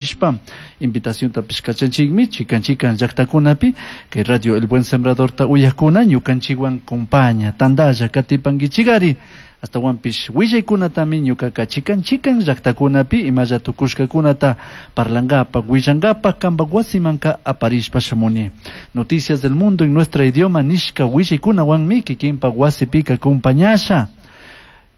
Nishpa invitaciontapish kachanchikmi chikan chikan llaktakunapi kay Radio El Buen Sembradorta uyakuna ñukanchikwan compaña tandalla katipankichikari astawanpish willaykunatami ñukaka chikan chikan llaktakunapi imalla tukushkakunata parlankapak willankapak kanpak wasimanka aparishpa shamuni. Noticias del Mundo en nuestro idioma nishka willaykunawanmi kikinpak wasipika acompañasha.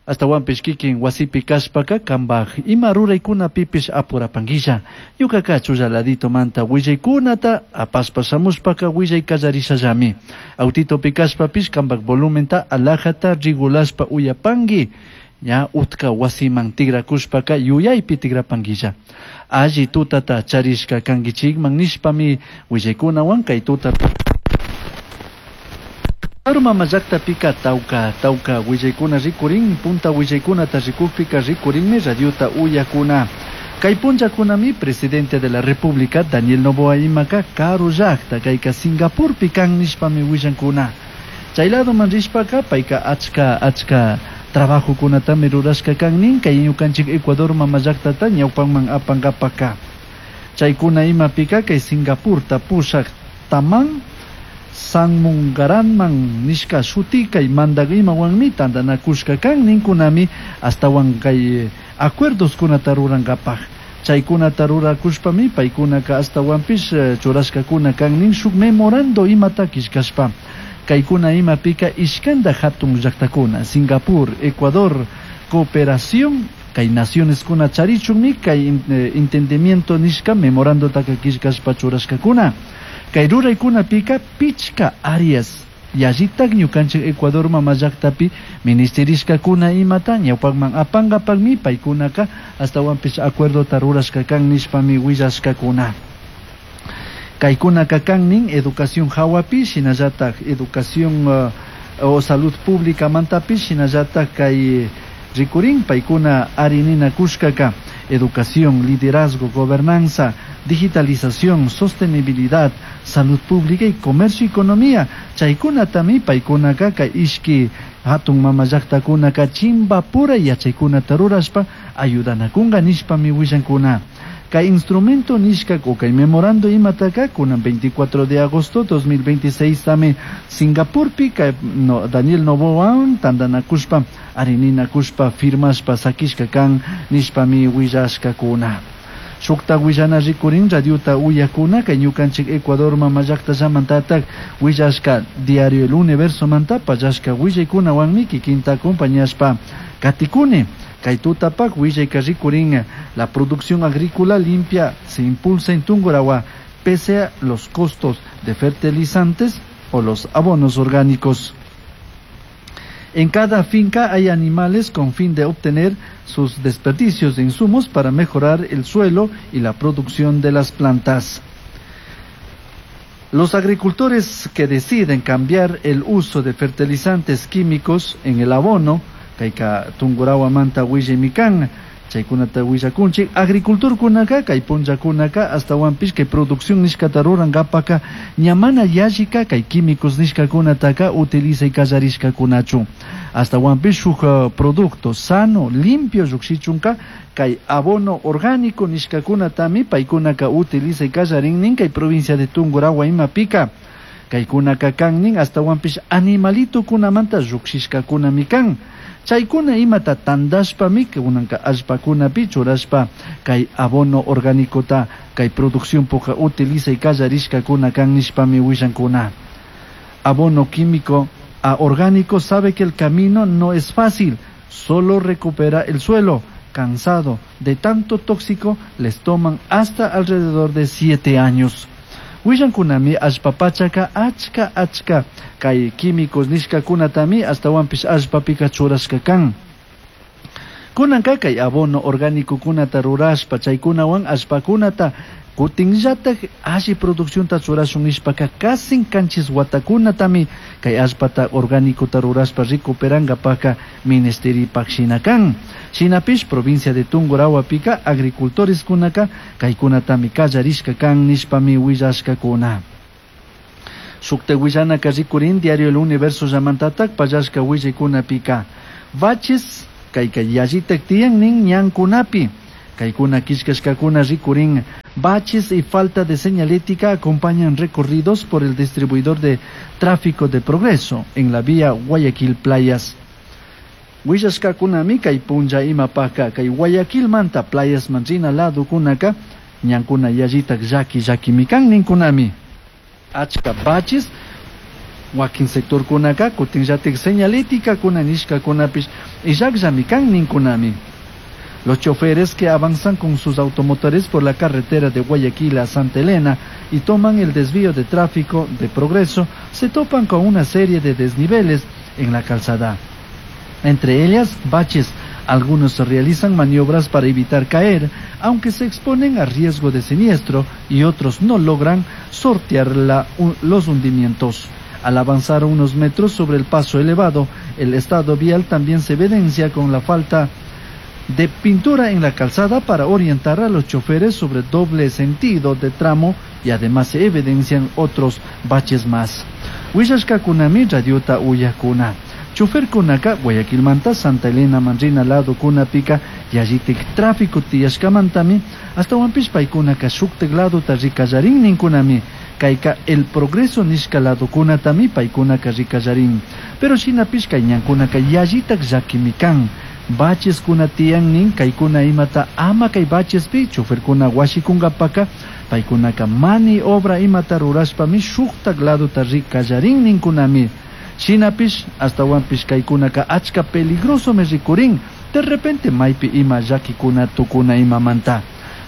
Astawanpish kikin wasipi kashpaka kanpak ima ruraykunapipish apurapanguilla. Ñukaka chulla ladito manta willaykunata apashpa shamushpaka willay kallarishallami. Autitopi kashpapish kanpak volumenta alajata regulashpa uyapanki. Ña utka wasiman tigrakushpaka yuyaypi tigrapanguilla. Alli tutata charishka kankichikman nishpami willaykunawan kay tuta mama llaqtapika tawka tawka willaykuna rikurin punta willaykunata rikukpika rikurinmi radiota uyakuna. Kay punllakunami presidente de la República Daniel Noboa imaka karu llaqta kayka Singapurpi kan nishpami willankuna. Chay ladoman rishpaka payka achka achka trabajokunatami rurashka kan nin kay ñukanchik Ecuador mama llaqtata ñawpanman apankapaka. Chaykuna imapika kay Singapurta pushak Tharman Shanmugaratnam nishka shuti kay mandak imawanmi tantanakushka kan ninkunami astawan kay acuerdoskunata rurankapaj. Chaykunata rurakushpami paykunaka astawanpish churashkakuna kan nin shuk memorando imata killkashpa. Kaykuna imapika ishkanta hatun llaqtakuna Singapur, Ecuador, cooperación kay naciones kuna charichunmi kay entendimiento nishka memorandotaka killkashpa churashkakuna. Kay ruraykunapika pichka áreas yallitak ñukanchik Ecuador mama llaqtapi ministerishkakuna imata ñawpakman apankapakmi paykunaka astawanpish acuerdota rurashka kan nishpami willashkakuna. Kaykunaka kan nin educación hawapi shinallatak educación o salud pública mantapish shinallatak kay rikurin paykuna arininakushkaka educación, liderazgo, gobernanza, digitalización, sostenibilidad, salud pública y comercio y economía. Chaykunatami paykunaka kay ishki hatun mama llaqtakunaka chimbapura yachaykunata rurashpa ayudanakunka nishpami willankuna. Kay instrumento nishka o kay memorando imataka kunan 24 de agosto 2026 tami Singapurpi kay no, Daniel Noboa tantanakushpa arininakushpa firmashpa sakishka kan nishpami willashkakuna. Shukta willana rikurin radiota uyakuna kay ñukanchik Ecuador mama llaqtallamantatak willashka Diario El Universo manta pallashka willaykunawanmi kikinta acompañashpa katikuni. Kay tutapak willayka rikurin la producción agrícola limpia se impulsa en Tungurahua pese a los costos de fertilizantes o los abonos orgánicos. En cada finca hay animales con fin de obtener sus desperdicios de insumos para mejorar el suelo y la producción de las plantas. Los agricultores que deciden cambiar el uso de fertilizantes químicos en el abono, kayka Tungurahua manta willaymikan, chaykunata willakunchik, agricultorkunaka kay punllakunaka astawanpish kay producción nishkata rurankapaka ña mana yallika kay químicos nishkakunataka utilizay kallarishkakunachu. Astawanpish shuk producto sano, limpio llukshichunka kay abono orgánico nishkakunatami paykunaka utilizay kallarin nin kay provincia de Tungurahua imapika. Kaykunaka kan nin astawanpish animalitokunamanta llukshishkakunami kan. Chaykuna imata tandashpami kunanka allpakunapi churashpa kay abono orgánicota kay producción puka utilizay kallarishkakuna kan nishpami willankuna. Abono químico a orgánico sabe que el camino no es fácil, solo recupera el suelo. Cansado de tanto tóxico, les toman hasta alrededor de 7 años. Willankunami allpapachaka achka achka kay químicos nishkakunatami astawanpish allpapika churashka kan. Kunanka kay abono orgánico kunata rurashpa chaykunawan allpakunata kutinllatak alli produccionta churashun nishpaka kasin kanchis watakunatami kay allpata orgánicota rurashpa recuperankapaka ministeripak shina kan. Shinapish provincia de Tungurahuapika agricultores kunaka kaykunatami kallarishka kan nishpami willashkakuna. Shukta willanaka rikurin Diario El Universo llamantatak pallashka willaykunapika. Baches kayka yallitak tiyan nin ñankunapi. Kaykuna killkashkakuna rikurin. Baches y falta de señalética acompañan recorridos por el distribuidor de tráfico de Progreso en la vía Guayaquil Playas. Willashkakunami kay punlla imapaka kay Guayaquilmanta Playas rina ladokunaka ñankuna yallitak llaki llakimi kan ninkunami. Achka baches wakin sectorkunaka kutinllatik señaléticakuna nishkakunapish illakllami kan ninkunami. Los choferes que avanzan con sus automotores por la carretera de Guayaquil a Santa Elena y toman el desvío de tráfico de Progreso se topan con una serie de desniveles en la calzada. Entre ellas, baches. Algunos realizan maniobras para evitar caer, aunque se exponen a riesgo de siniestro, y otros no logran sortear los hundimientos. Al avanzar unos metros sobre el paso elevado, el estado vial también se evidencia con la falta de pintura en la calzada para orientar a los choferes sobre doble sentido de tramo, y además se evidencian otros baches más. Willashkakunami radiota uyakuna. Choferkunaka Guayaquilmanta Santa Elena man rina ladokunapika yallitik tráfico tiyashkamantami astawanpish paykunaka shuktik ladota rikallarin ninkunami. Kayka El Progreso nishka ladokunatami paykunaka rikallarin. Pero shinapish kay ñankunaka yallitak llakimi kan. Bacheskuna tiyan nin kaykuna imata ama kay bachespi choferkuna washikunkapaka paykunaka mani obra imata rurashpami shuktak ladota rikallarin ninkunami. Shinapish astawanpish kaykunaka achka peligrosomi rikurin, de repente maypi ima llakikuna tukuna imamanta.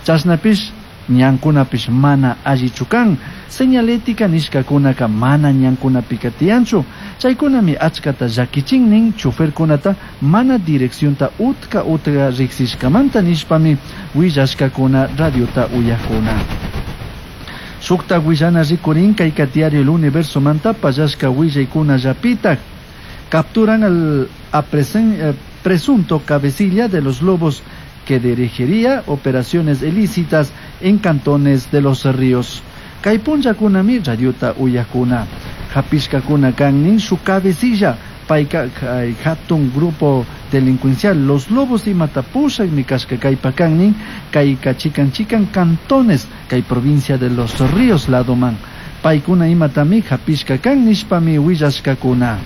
Chashnapish ñankunapish mana allichu kan, señalética nishkakunaka mana ñankunapika tiyanchu, chaykunami achkata llakichin nin choferkunata mana direccionta utka utka riksishkamanta nishpami willashkakuna radiota uyakuna. Shukta willana rikurin kayka diario El Universo manta pallashka willaykuna llapitak. Capturan al presunto cabecilla de los Lobos que dirigiría operaciones ilícitas en cantones de Los Ríos. Kay punllakunami radiota uyakuna. Hapishkakuna kan su cabecilla payka hatun grupo delincuencial Los Lobos imata pushakmi kashka kaypa kannin kayka chikan chikan cantones kay provincia de Los Ríos ladoman. Paykuna imatami hapishka kan nishpami willashkakuna.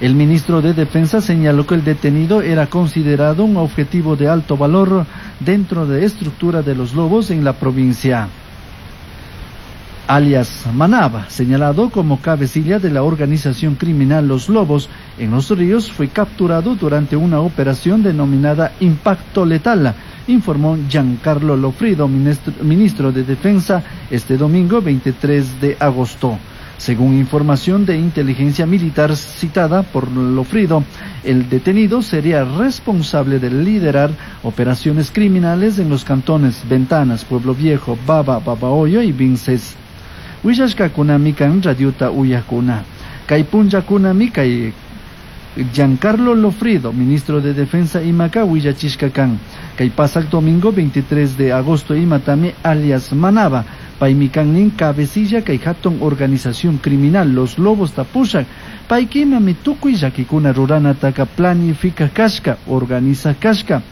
El ministro de Defensa señaló que el detenido era considerado un objetivo de alto valor dentro de estructura de Los Lobos en la provincia. Alias Manaba, señalado como cabecilla de la organización criminal Los Lobos en Los Ríos, fue capturado durante una operación denominada Impacto Letal, informó Giancarlo Lofrido, ministro de Defensa, este domingo 23 de agosto. Según información de inteligencia militar citada por Lofrido, el detenido sería responsable de liderar operaciones criminales en los cantones Ventanas, Pueblo Viejo, Baba, Babahoyo y Vinces. Willashkakunami kan radiota uyakuna. Kay punllakunami kay Giancarlo Lofrido, ministro de Defensa imaka willachishka kan. Kay pasak domingo 23 de agosto imatami alias Manaba, paymi kannin cabecilla kay hatun organización criminal Los Lobos tapushak, paykimami tukuy llakikuna ruranataka planifica kashka, organiza kashka,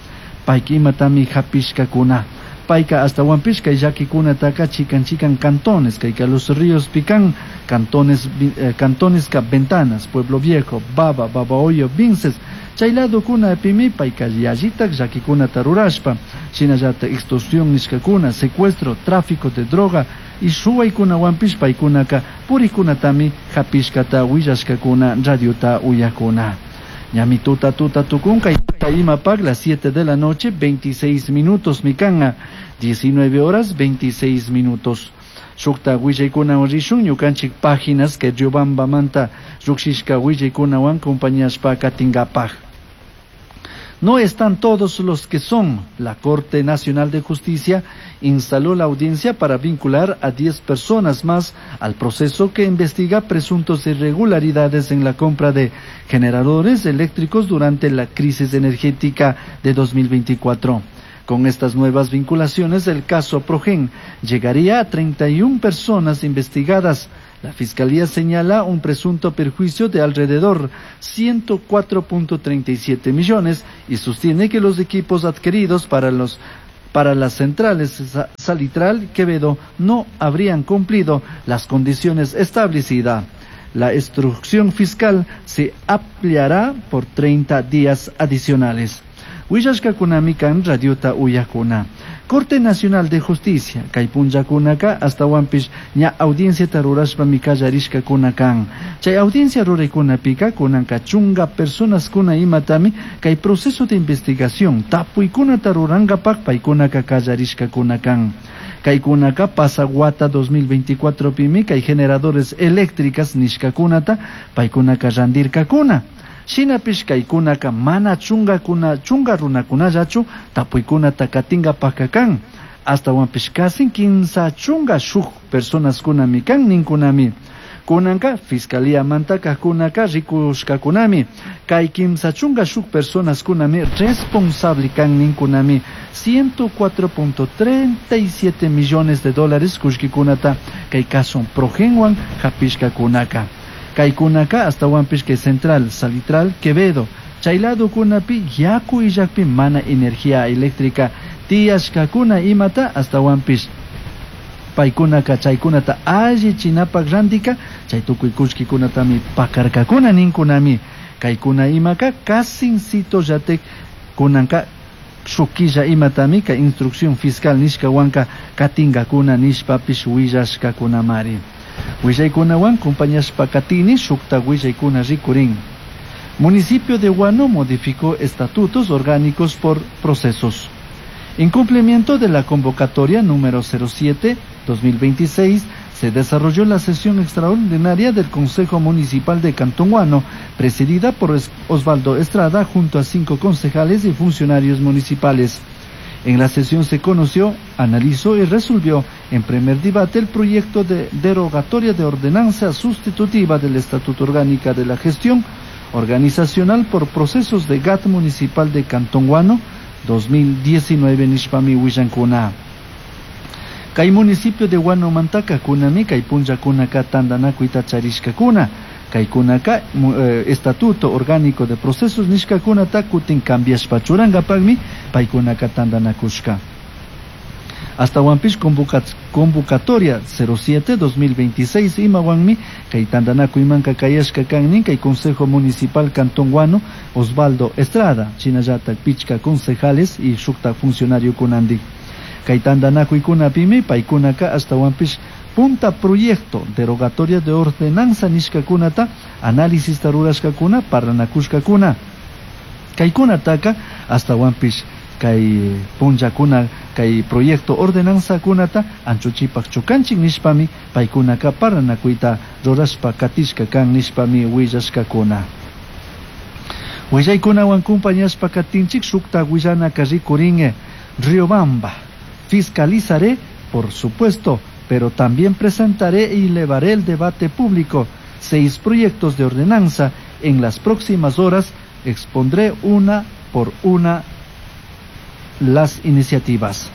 paykimatami hapishkakuna. Payka astawanpish kay llakikunataka chikan chikan cantones, kayka Los Ríos pican, cantones, cantones ka Ventanas, Pueblo Viejo, Baba, Babahoyo, Vinces, chay ladokunapimi payka yallitak llakikunata rurashpa, shinallata extorsión nishkakuna, secuestro, tráfico de droga y shuwaykunawanpish paykunaka purikunatami hapishkata willashkakuna radiota uyakuna. Ñami tuta tuta tukunka imapak las 7 de la noche 26 minutos mikanga 19 horas 26 minutos. Shukta willaykunawan rishun ñukanchik páginas que Riobambamanta llukshishka willaykunawan compañashpa katingapaj. No están todos los que son. La Corte Nacional de Justicia instaló la audiencia para vincular a 10 personas más al proceso que investiga presuntos irregularidades en la compra de generadores eléctricos durante la crisis energética de 2024. Con estas nuevas vinculaciones, el caso Progen llegaría a 31 personas investigadas. La Fiscalía señala un presunto perjuicio de alrededor 104.37 millones y sostiene que los equipos adquiridos para las centrales Salitral Quevedo no habrían cumplido las condiciones establecidas. La instrucción fiscal se ampliará por 30 días adicionales. Willashkakunami kan radiota uyakuna. Corte Nacional de Justicia, kay punllakunaka astawanpish ña audienciata rurashpami kallarishkakuna kan. Chay audiencia ruraykunapika kunanka chunga personaskuna imatami kay proceso de investigación tapuykunata rurankapak paykunaka kallarishkakuna kan. Kaykunaka pasaguata 2024 pimi kay generadores eléctricas nishkakunata paykunaka randirkakuna. Shinapish kaykunaka mana chunga runakunallachu tapuykunata katinkapak kan. Astawanpish kasin 15 chunga shuk personaskunami kan ninkunami. Kunanka fiscalía mantaka kunaka rikushkakunami. Kay 15 chunga shuk personaskunami responsable kan ninkunami. 104.37 millones de dólares kushkikunata kay kaso Progenwan hapishkakunaka. Kaykunaka astawanpish kay Central, Salitral, Quevedo, chaylado kunapi yaku illakpi mana energía eléctrica tiyashkakuna imata astawanpish paykunaka chaykunata allichinapak randika chay tukuy kullkikunatami pakarkakuna ninkunami. Kaykuna imaka kasincito llatek kunanka shukilla imatami kay instrucción fiscal nishkawanka katinkakuna nishpapish willashkakunamari. Willaykunawan compañashpa katini shukta willaykuna rikurin. Municipio de Guano modificó estatutos orgánicos por procesos. En cumplimiento de la convocatoria número 07-2026, se desarrolló la sesión extraordinaria del Consejo Municipal de Cantón Guano, presidida por Osvaldo Estrada junto a 5 concejales y funcionarios municipales. En la sesión se conoció, analizó y resolvió en primer debate el proyecto de derogatoria de ordenanza sustitutiva del Estatuto Orgánica de la Gestión Organizacional por Procesos de GAT Municipal de Cantón Guano 2019 nishpami willankuna. Kay municipio de Guano mantaka kunami kay punllakunaka tantanakuyta charishkakuna. Kaykunaka estatuto orgánico de procesos nishkakunata kutin cambiashpa churankapakmi paykunaka tantanakushka. Astawanpish convocatoria 07-2026 imawanmi kay tantanakuymanka kayashka kannin kay Consejo Municipal Cantón Guano Osvaldo Estrada, shinallatak pichka concejales y shukta funcionario kunandik. Kay tantanakuykunapimi paykunaka astawanpish punta proyecto derogatoria de ordenanza nishkakunata análisis rurashkakuna parlanakushkakuna. Kaykunataka astawanpish kay punllakuna kay proyecto ordenanza kunata anchuchipak chukanchik nishpami paykunaka parlanakuyta rurashpa katishka kan nishpami willashkakuna. Willaykunawan compañashpa katinchik shukta willanaka rikurin. Riobamba, fiscalizaré, por supuesto, pero también presentaré y elevaré el debate público 6 proyectos de ordenanza. En las próximas horas expondré una por una las iniciativas.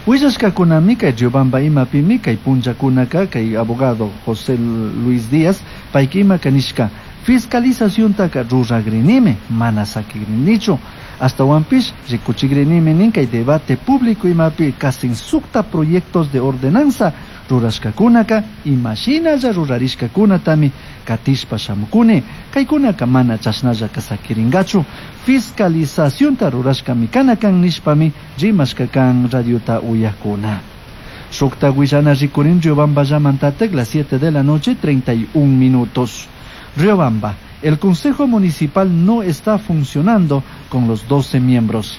Willashkakunami kay Riobamba imapimi kay punllakunaka kay abogado José Luis Díaz payka imaka nishka fiscalizaciontaka ruragrinimi mana sakigrinichu astawanpish rikuchigrinimi nin kay debate público imapi kasin sukta proyectos de ordenanza rurashkakunaka imashinalla rurarishkakunatami katishpa shamukuni kaykunaka mana chashnallaka sakirinkachu fiscalizacionta rurashkami kanakan nishpami rimashka kan radiota uyakuna. Shukta willana rikurin Riobamba llamantatek las 7 de la noche 31 minutos. Riobamba, el Consejo Municipal no está funcionando con los 12 miembros.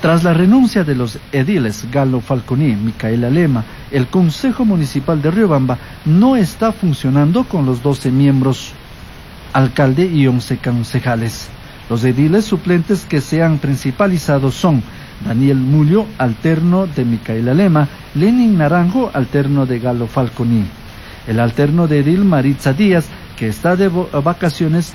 Tras la renuncia de los ediles Galo Falconi y Micaela Lema, el Consejo Municipal de Riobamba no está funcionando con los 12 miembros, alcalde y 11 concejales. Los ediles suplentes que se han principalizado son Daniel Mulio, alterno de Micaela Lema, Lenin Naranjo, alterno de Galo Falconi. El alterno de edil Maritza Díaz, que está de vacaciones,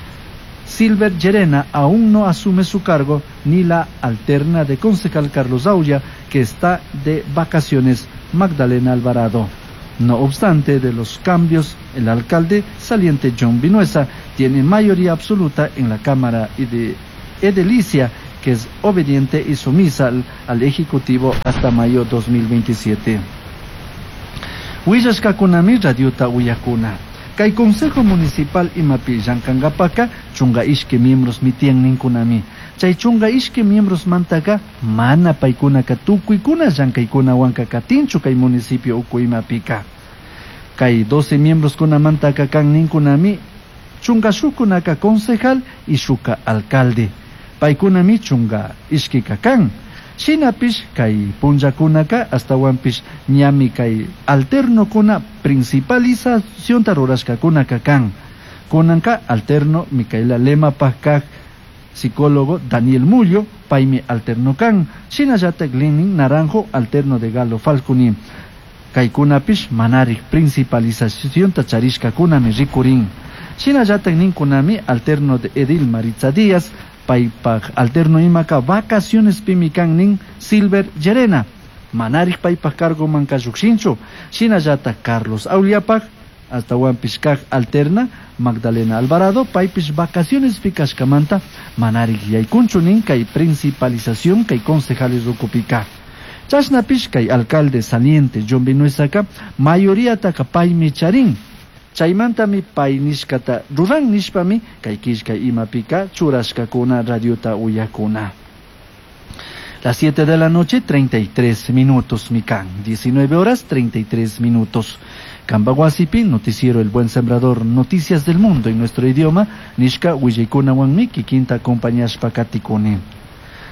Silver Llerena, aún no asume su cargo, ni la alterna de concejal Carlos Aulla, que está de vacaciones, Magdalena Alvarado. No obstante de los cambios, el alcalde saliente John Vinuesa tiene mayoría absoluta en la Cámara y de Edelicia, que es obediente y sumisa al Ejecutivo hasta mayo 2027. Willashkakunami radiota uyakuna. Kay Consejo Municipal imapi llankankapaka chunga ishki miembros mitian ninkunami. Chay chunga ishki miembros mantaka mana paykunaka tukuykuna llankaykunawanka katinchu kay municipio uku imapika. Kay 12 miembros kunamantaka kan ninkunami chunga shukunaka concejal y shuka alcalde. Paykunami chunga ishkika kan. Shinapish kay punllakunaka astawanpish ñami kay alternokuna principalizacionta rurashkakunaka kan. Kunanka alterno Micaela Lemapaj kaj psicólogo Daniel Mullo, paymi alterno kan. Shinallatak Lenin Naranjo, alterno de Galo Falconi. Kaykunapish manarik principalizacionta charishkakunami rikurin. Shinallatak ninkunami alterno de Edil Maritza Díaz, paypaj alterno imaka vacaciones pimikan nin Silver Llerena. Manarik paypaj cargo manka llukshinchu. Shinallata Carlos Auliapaj, hasta kaj alterna Magdalena Alvarado, paypish vacaciones pikashkamanta manarik yaykunchu nin kay principalización kay concejales ukupika. Chashnapish kay alcalde saliente John Vinuesaka mayoría taka paymi charin. Chaymantami pay nishkata ruran nishpami kay killkay imapika churashkakuna radiota uyakuna. Las 7 de la noche, 33 minutos, mikan. 19 horas, 33 minutos. Kambahuasipi, noticiero El Buen Sembrador, noticias del mundo en nuestro idioma, nishka willaykuna wanmi kikinta acompañashpa katikuni.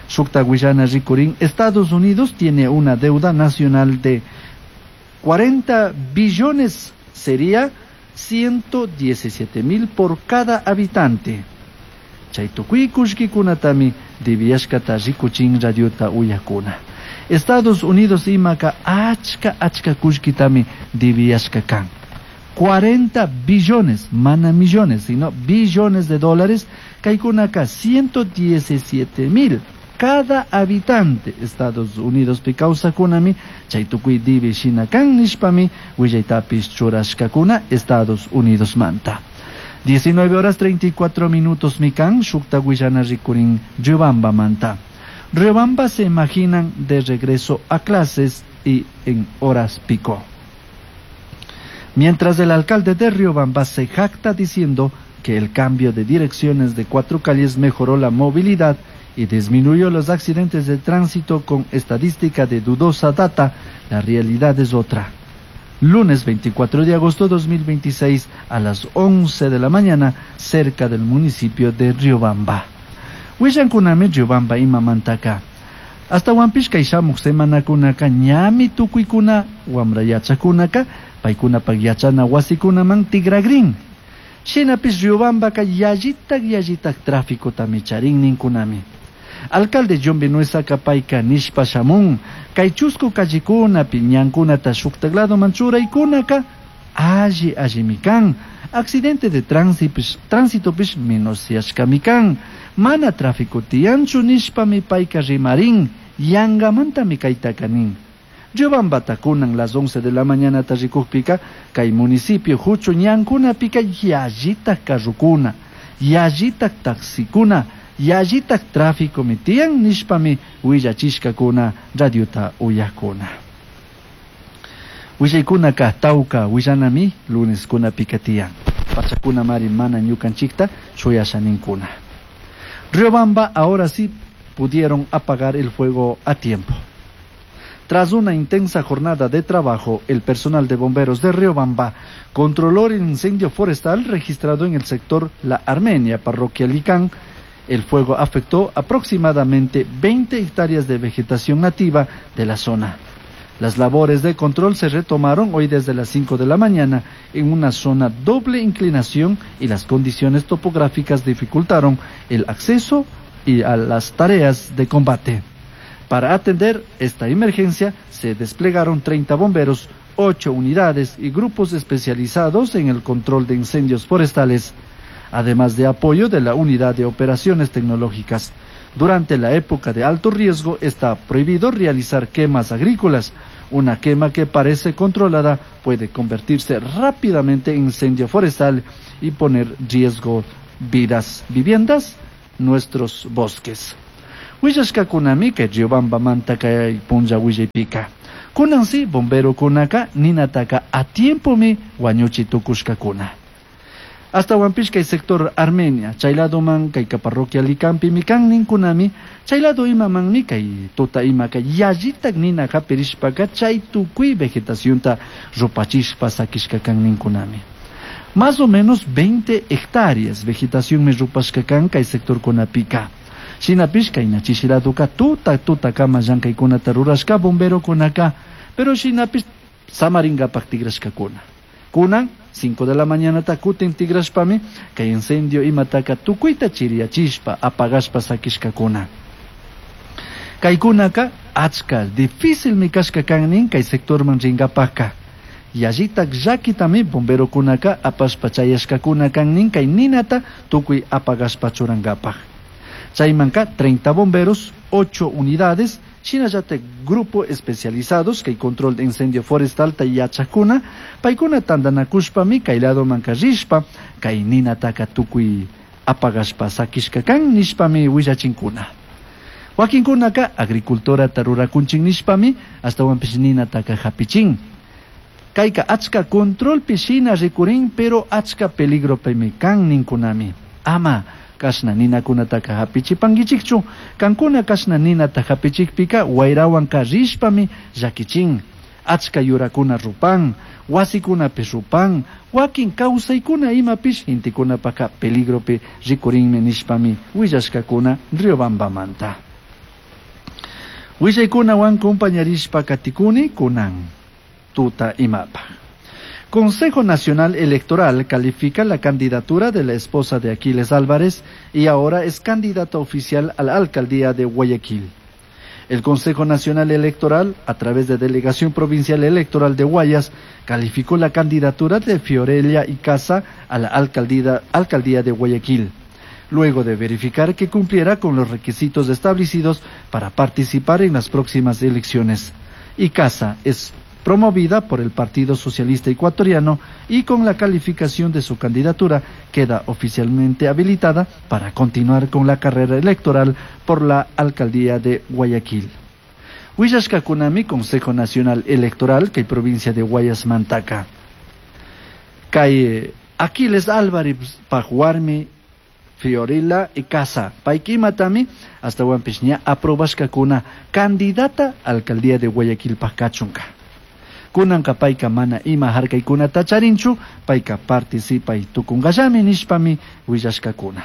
Shukta Guayana rikurin, Estados Unidos tiene una deuda nacional de 40 billones, sería 117,000 por cada habitante. Chay tukuy kullkikunatami debiyashkata rikuchin radiota uyakuna. Estados Unidos imaka achka achka kullkitami debiyashka kan. 40 billones, mana millones, sino billones de dólares, kaykunaka 117,000 cada habitante Estados Unidos pi kawsakunami chay tukuy dibi shina kan nishpami willaytapish churashkakuna Estados Unidos manta. 19 horas 34 minutos mikan shukta willana rikurin Riobamba manta. Riobamba se imaginan de regreso a clases y en horas pico. Mientras el alcalde de Riobamba se jacta diciendo que el cambio de direcciones de 4 calles mejoró la movilidad y disminuyó los accidentes de tránsito con estadística de dudosa data, la realidad es otra. Lunes 24 de agosto de 2026 a las 11 de la mañana, cerca del municipio de Riobamba. Willankunami Riobamba imamantaka. Hasta wampish kay shamuk semanakunaka ñami tukuykuna wamra yachakunaka paykunapak yachana wasikunaman tigragrin. Shinapish Riobambaka yallitak yallitak tráficotami charin ninkunami. Alcalde John Vinuesaka payka nishpa shamun kay chusku callikunapi ñankunata shuktak ladoman churaykunaka alli allimi kan. Accidente de tránsitopish menosyashkami kan. Mana tráfico tiyanchu nishpami payka rimarin, yangamantami kaytaka nin. Riobambata kunan las 11 de la mañana rikukpika kay municipio huchu ñankunapika yallitak carrukuna, yallitak taxikuna, yallitak tráfico mitiyan nishpami willachishkakuna radiota uyakuna. Willaykunaka tawka willanami lunes kunapika tiyan. Pachakuna mari mana ñukanchikta shuyashaninkuna. Riobamba ahora sí pudieron apagar el fuego a tiempo. Tras una intensa jornada de trabajo, el personal de bomberos de Riobamba controló el incendio forestal registrado en el sector La Armenia, parroquia Licán. El fuego afectó aproximadamente 20 hectáreas de vegetación nativa de la zona. Las labores de control se retomaron hoy desde las 5 de la mañana en una zona doble inclinación y las condiciones topográficas dificultaron el acceso y a las tareas de combate. Para atender esta emergencia se desplegaron 30 bomberos, 8 unidades y grupos especializados en el control de incendios forestales, además de apoyo de la Unidad de Operaciones Tecnológicas. Durante la época de alto riesgo está prohibido realizar quemas agrícolas. Una quema que parece controlada puede convertirse rápidamente en incendio forestal y poner riesgo vidas, viviendas, nuestros bosques. Willashkakunami kay Riobambamanta kay punlla willaypika. Kunansi bomberokunaka ninataka a tiempomi wañuchi tukushkakuna. Ashtawanpish kay sector Armenia, chay ladoman kayka parroquia Licampimi kan ninkunami, chay lado imamanmi kay tuta imaka yallitak nina hapirishpaka chay tukuy vegetacionta rupachishpa sakishka kan ninkunami. Más o menos 20 hectáreas vegetación mi rupashka kan kay sector kunapika. Shinapish kay nachishiladuka tuta tuta kama llankaykunata rurashka bomberokunaka, pero shinapish samaringapak tigrashkakuna. Kunan 5 de la mañana kutin tigrashpami kay incendio imataka tukuyta chiriyachishpa apagashpa sakishkakuna. Kaykunaka achka difícilmi kashka kan nin kay sectorman ringapaka. Yallitak llakitami bomberokunaka apashpa chayashkakuna kan nin kay ninata tukuy apagashpa churankapak. Chaymanka 30 bomberos, 8 unidades, shinallatak grupo especializados kay control de incendio forestal ta yachakuna, paykuna tantanakushpami kay ladomanka rishpa, kay ninataka tukuy apagashpa sakishka kan nishpami willachinkuna. Wakinkunaka agricultorata rurakunchin nishpami ashtawanpish ninataka hapichin. Kayka achka controlpi shina rikurin, pero achka peligropimi kan ninkunami. Ama kashna ninakunataka hapichipankichikchu, kankuna kashna ninata hapichikpika wayrawanka rishpami llakichin. Achka yurakuna rupan, wasikunapish rupan, wakin kawsaykuna imapish intikunapaka peligropi rikurinmi nishpami willashkakuna Riobambamanta. Willaykunawan compañarishpa katikuni kunan tuta imapa. Consejo Nacional Electoral califica la candidatura de la esposa de Aquiles Álvarez y ahora es candidata oficial a la alcaldía de Guayaquil. El Consejo Nacional Electoral, a través de Delegación Provincial Electoral de Guayas, calificó la candidatura de Fiorella Icaza a la alcaldía de Guayaquil, luego de verificar que cumpliera con los requisitos establecidos para participar en las próximas elecciones. Icaza es promovida por el Partido Socialista Ecuatoriano y con la calificación de su candidatura queda oficialmente habilitada para continuar con la carrera electoral por la alcaldía de Guayaquil. Willashkakunami Consejo Nacional Electoral kay provincia de Guayas Mantaka. Kay Aquiles Álvarez pajuarmi Fiorella Icaza paykimatami ashtawanpish ña aprobashkakuna candidata alcaldía de Guayaquil pakachunka. Kunanka payka mana ima harkaykunata charinchu, payka participay tukunkallami nishpami willashkakuna.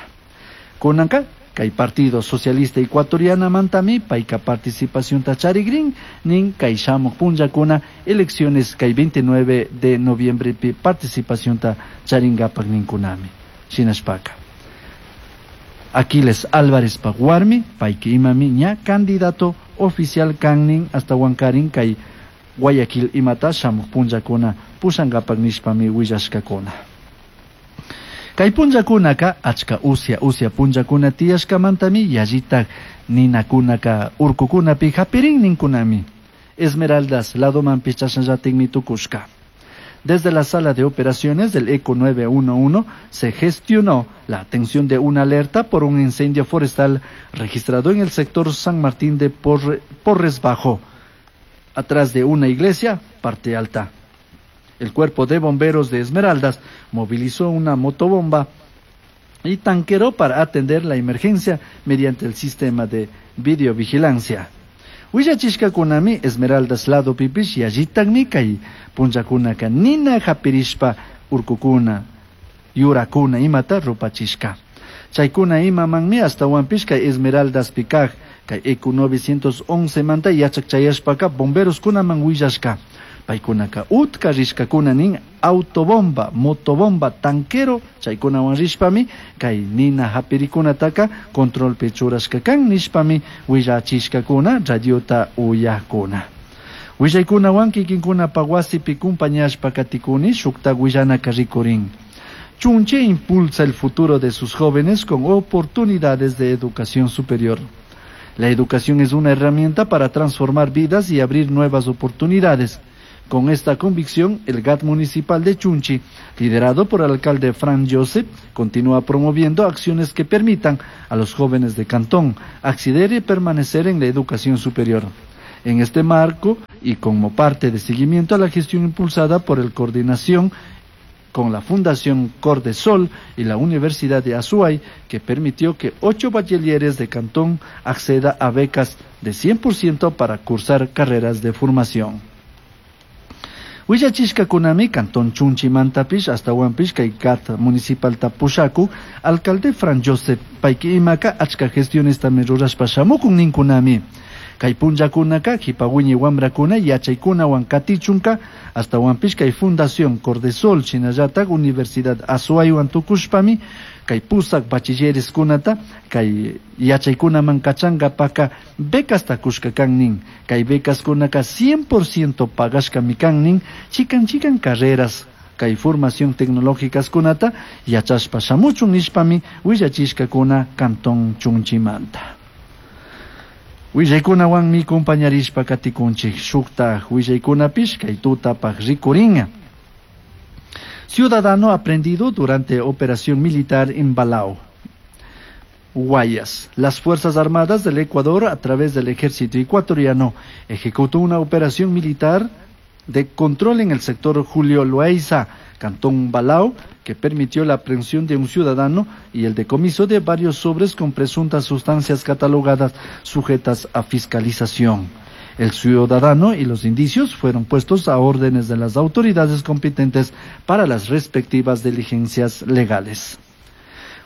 Kunanka kay Partido Socialista Ecuatorianamantami payka participacionta charigrin nin kay shamuq punllakuna elecciones kay 29 de noviembre pi participacionta charinkapak ninkunami. Shinashpaka. Aquiles Álvarez pawarmi payki imami ña candidato oficial kannin hasta Huancarín kay Guayaquil imata shamuq punllakuna pushankapak nishpami willashkakuna. Kay punllakunaka achka usya usya punllakuna tiyashkamantami yallitak ninakunaka urkukunapi hapirin ninkunami. Esmeraldas ladomanpish chashnallatikmi tukushka. Desde la sala de operaciones del ECO 911 se gestionó la atención de una alerta por un incendio forestal registrado en el sector San Martín de Porres Bajo, atrás de una iglesia, parte alta. El cuerpo de bomberos de Esmeraldas movilizó una motobomba y tanquero para atender la emergencia mediante el sistema de videovigilancia. Willachishkakunami Esmeraldas lado pipish yallitakmi kay punllakunaka nina hapirishpa urkukuna, yurakuna imata rupachishka. Chaykuna imamanmi ashtawanpish kay Esmeraldas pikaj kay ECO 911 manta yachak chayashpaka bomberos kunaman willashka. Paykunaka utka rishkakuna nin autobomba, motobomba, tanquero chaykunawan rishpami kay nina hapirikunataka controlpi churashka kan nishpami willachishkakuna radiota uyakuna. Willaykunawan kikinkunapa wasipi kumpañashpa katikuni shukta willanaka rikurin. Chunche impulsa el futuro de sus jóvenes con oportunidades de educación superior. La educación es una herramienta para transformar vidas y abrir nuevas oportunidades. Con esta convicción, el GAT municipal de Chunchi, liderado por el alcalde Fran Joseph, continúa promoviendo acciones que permitan a los jóvenes de Cantón acceder y permanecer en la educación superior. En este marco, y como parte de seguimiento a la gestión impulsada por el coordinación con la Fundación Cordesol y la Universidad de Azuay, que permitió que 8 bachilleres de Cantón acceda a becas de 100% para cursar carreras de formación. Willachishkakunami Cantón Chunchimantapish hasta kay GAT municipal tapushaku, alcalde Fran Joseph payki imaka achka gestiones también rurashpa shamukun ninkunami. Kay punllakunaka jipawiñi wamrakuna yachaykunawan katichunka hasta wanpish kay Fundación Cordesol shinallatak Universidad Azuaywan tukushpami kay pusak bachilleres kunata kay yachaykunaman kachangapaka becas takushka kan nin. Kay becas kunaka 100% pagashkami kan nin chikan chikan carreras kay formación tecnológicas kunata yachashpa shamuchun nishpami willachishkakuna Cantón Chunchimanta. Willaykunawanmi compañarishpa katikunchik shukta willaykunapish kay tutapaq rikuringa. Ciudadano aprendido durante operación militar en Balao, Guayas. Las Fuerzas Armadas del Ecuador, a través del Ejército Ecuatoriano, ejecutó una operación militar de control en el sector Julio Loaiza, Cantón Balao, que permitió la aprehensión de un ciudadano y el decomiso de varios sobres con presuntas sustancias catalogadas sujetas a fiscalización. El ciudadano y los indicios fueron puestos a órdenes de las autoridades competentes para las respectivas diligencias legales.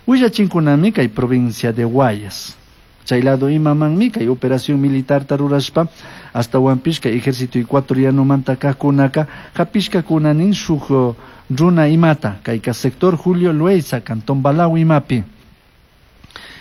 Willachinkunami kay provincia de Guayas. Chaylado imamanmi kay operación militar tarurashpa hasta Huampishka ejército ecuatoriano mantakakunaka hapishka kunanin shuk runa imata kayka sector Julio Loaiza Cantón Balao imapi.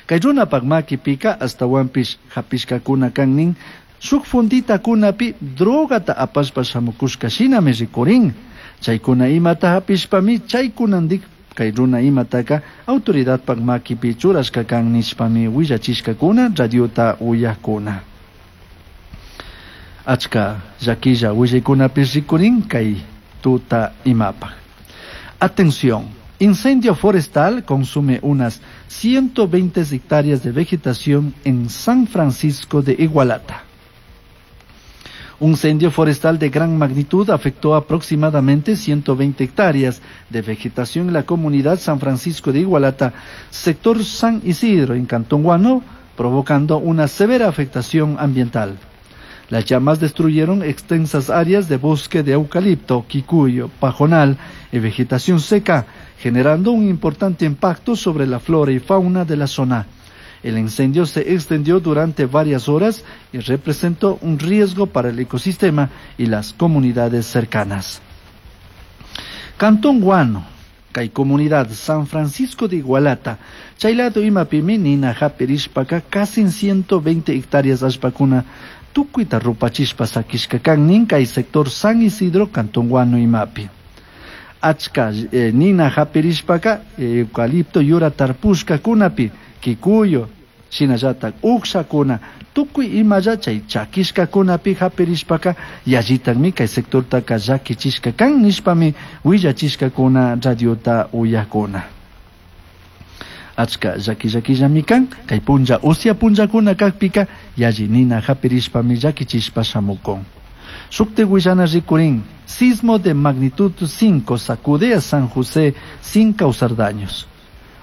Kay runapak makipika hasta Huampish hapishka kuna kannin shuk fundita kunapi drogata apashpa shamukushka shinami rikurin. Chaykuna imata hapishpami chaykunandik kay runa imataka autoridadpak makipi churashka kan nishpami willachishkakuna radiota uyakuna. Achka llakilla willaykunapish rikurin kay tuta imapak. Atención, incendio forestal consume unas 120 hectáreas de vegetación en San Francisco de Igualata. Un incendio forestal de gran magnitud afectó aproximadamente 120 hectáreas de vegetación en la comunidad San Francisco de Igualata, sector San Isidro, en Cantón Guano, provocando una severa afectación ambiental. Las llamas destruyeron extensas áreas de bosque de eucalipto, quicuyo, pajonal y vegetación seca, generando un importante impacto sobre la flora y fauna de la zona. El incendio se extendió durante varias horas y representó un riesgo para el ecosistema y las comunidades cercanas. Cantón Guano, kay comunidad San Francisco de Igualata, chaylado imapimi nina hapirishpaka casi 120 hectáreas allpakuna tukuyta rupachishpa sakishka kan kay sector San Isidro, Cantón Guano imapi. Achka nina hapirishpaka eucalipto yura tarpushka kunapi, kikuyo, shinallatak ukshakuna, tukuy imalla chay chakishkakunapi hapirishpaka yallitakmi kay sectortaka llakichishka kan nishpami willachishkakuna radiota uyakuna. Achka llaki llakillami kan kay punlla usya punllakuna kakpika yalli nina hapirishpami llakichishpa shamukun. Shukti willana rikurin, sismo de magnitud 5 sacude a San José sin causar daños.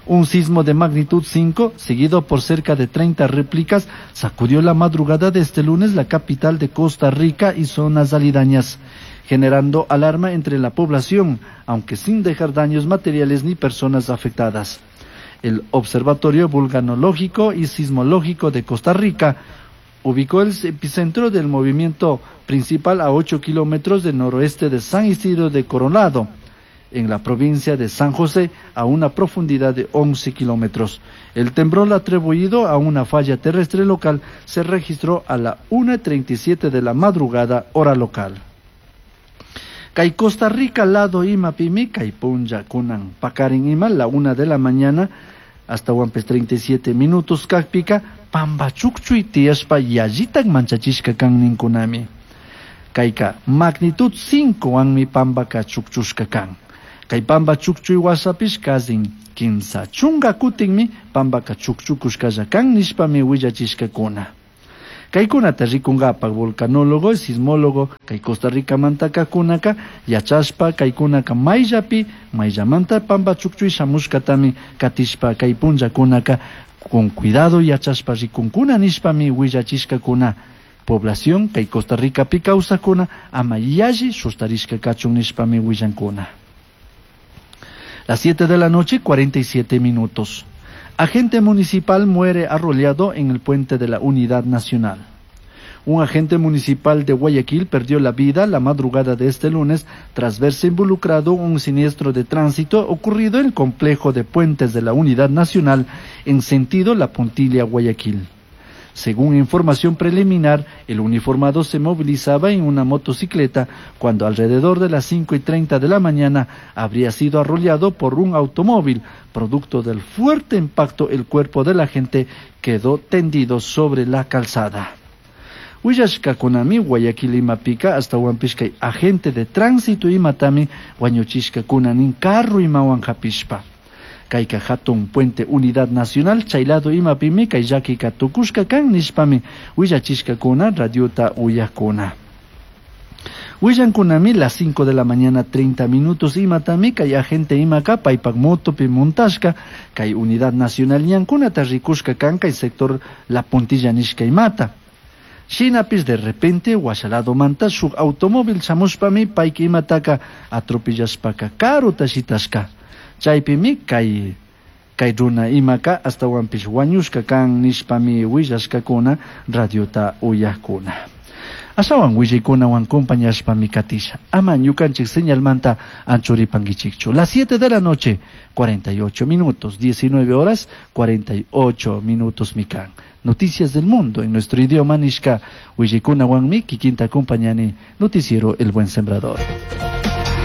Un sismo de magnitud 5, seguido por cerca de 30 réplicas, sacudió la madrugada de este lunes la capital de Costa Rica y zonas aledañas, generando alarma entre la población, aunque sin dejar daños materiales ni personas afectadas. El Observatorio Vulcanológico y Sismológico de Costa Rica ubicó el epicentro del movimiento principal a 8 kilómetros del noroeste de San Isidro de Coronado, en la provincia de San José, a una profundidad de 11 kilómetros. El temblor atribuido a una falla terrestre local se registró a la 1:37 de la madrugada, hora local. Kay Costa Rica lado imapimi, kay punlla kunan pakarin ima, la 1 de la mañana, hasta huampes 37 minutos kakpika, Pamba chukchuy tiyashpa yallitak manchachishka kan ninkunami. Kayka magnitud 5 wanmi pambaka chukchushka kan. Kay pamba chukchuy washapish kazin 30 kutinmi pambaka chukchukushkalla kan nishpami willachishkakuna. Kaykunata rikunkapak volcanólogo, sismólogo, kay Costa Rica mantakakunaka yachashpa kaykunaka mayllapi mayllamanta pamba chukchuy shamushkatami katishpa kay punllakunaka con cuidado yachashpa rikunkuna nishpami willachishkakuna. Población kay Costa Rica pi kawsakuna ama yalli sustarishka kachun nishpami willankuna. Las 7 de la noche, 47 minutos. Agente municipal muere arrollado en el puente de la Unidad Nacional. Un agente municipal de Guayaquil perdió la vida la madrugada de este lunes tras verse involucrado en un siniestro de tránsito ocurrido en el complejo de puentes de la Unidad Nacional en sentido La Puntilla, Guayaquil. Según información preliminar, el uniformado se movilizaba en una motocicleta cuando alrededor de las 5:30 de la mañana habría sido arrollado por un automóvil. Producto del fuerte impacto, el cuerpo del agente quedó tendido sobre la calzada. Willashkakunami Guayaquil imapika ashtawanpish kay agente de tránsito imatami wañuchishkakuna nin carro imawan hapishpa. Kayka hatun puente Unidad Nacional chay lado imapimi kay llakika tukushka kan nishpami willachishkakuna radiota uyakuna. Willankunami las 5 de la mañana 30 minutos imatami kay agente imaka paypak motopi montashka kay Unidad Nacional ñankunata rikushka kan kay sector La Puntilla nishka imata. Shinapis de repente washalado manta shuk automóvil shamushpami payka imataka atropellashpaka karuta shitashka. Chaypimi kay runa imaka ashtawanpish wañushka kan nishpami willashkakuna radiota uyakuna. Ashawan willaykunawan compañashpami katisha. Ama ñukanchik señalmanta anchuripankichikchu. Las 7 de la noche, 48 minutos, 19 horas, 48 minutos mikan. Noticias del mundo en nuestro idioma nishka willaykunawanmi kikinta acompañani noticiero El Buen Sembrador.